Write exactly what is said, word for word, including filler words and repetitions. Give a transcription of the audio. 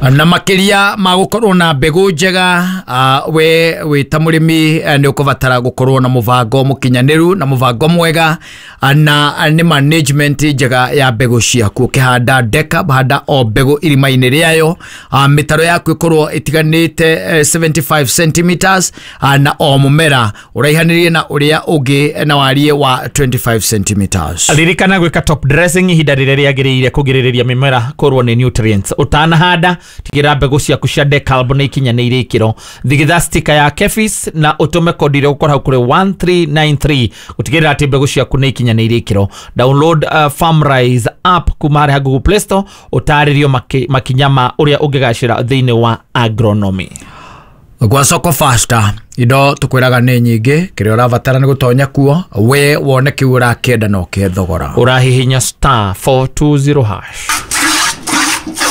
Na makiria ma gukorwo na mbegu njega, uh, we wĩ ta mũrĩmi eh, nĩ ũkũbatara gũkorwo na mũbango mũkinyanĩru na mũbango mwega, ah, na nĩ management njega ya mbegũ ciaku. Ũkĩhanda DEKALB, handa o mbegũ irima-inĩ rĩayo, uh, mĩtaro yaku ĩkorwo ĩtiganĩte eh, seventy-five centimeters, uh, na o mũmera ũraihanĩrie na ũrĩa ũngĩ na wariĩ wa twenty-five centimeters. Ririkana gwĩka top dressing ihinda rĩrĩa rĩagĩrĩire kũgirĩrĩria mĩmera kũrwo nĩ nutrients. Ũtanahanda, tigĩrĩra mbegũ ciaku cia DEKALB nĩ ikinyanĩire ikĩro. Thigitha stika ya KEPHIS na ũtũme kodi ĩrĩa ũgũkora hau kũrĩ one three nine three gũtigĩrĩra atĩ mbegũ ciaku nĩ ikinyanĩire ikĩro. Download uh, Farmrise app kuma harĩa Google Play Store, ũtarĩrio maki, makinya ma ũrĩa ũngĩgacĩra thĩinĩ wa agronomy. Gwa Soko Fasta indo tukwĩraga nĩ nyingĩ. Kĩrĩa ũrabatara nĩ gũtonya kuo we wone kĩu ũrakĩenda na ũkĩhe thogora. Ũrahihinya star four two zero hash.